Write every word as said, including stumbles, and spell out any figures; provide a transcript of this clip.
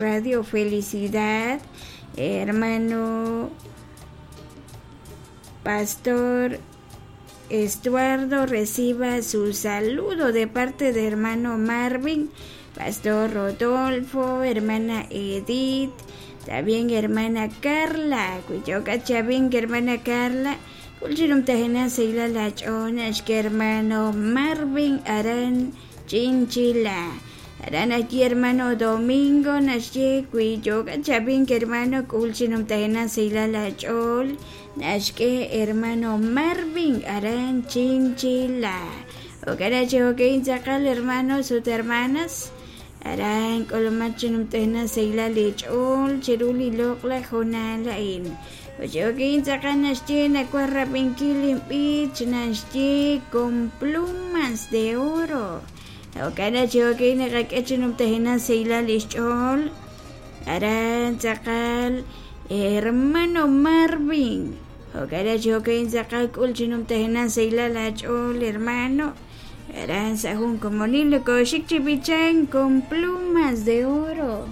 Radio Felicidad, hermano Pastor Estuardo, reciba su saludo de parte de hermano Marvin, Pastor Rodolfo, hermana Edith, también hermana Carla, Chavin, hermana Carla, hermano Marvin Aran Chinchila. Aran aquí hermano Domingo naxye kuiyoka chabin hermano kulchinum tajena seila chol naxke hermano Marvin Aran Chinchila. Okara choke intzakal hermanos ut hermanas. Aran kolomachinum tajena seila lechol chiruli lokla jonalain. Ochoke intzakal naxye nakuarrapinkilim bich naxye con plumas de oro. Okara choke nakakechinum tajena seila lechol. Aran tzakal hermano Marvin. Okara choke intzakal kulchinum tajena seila lechol hermano. Aran sajun como nilo koshik chipichan con plumas de oro.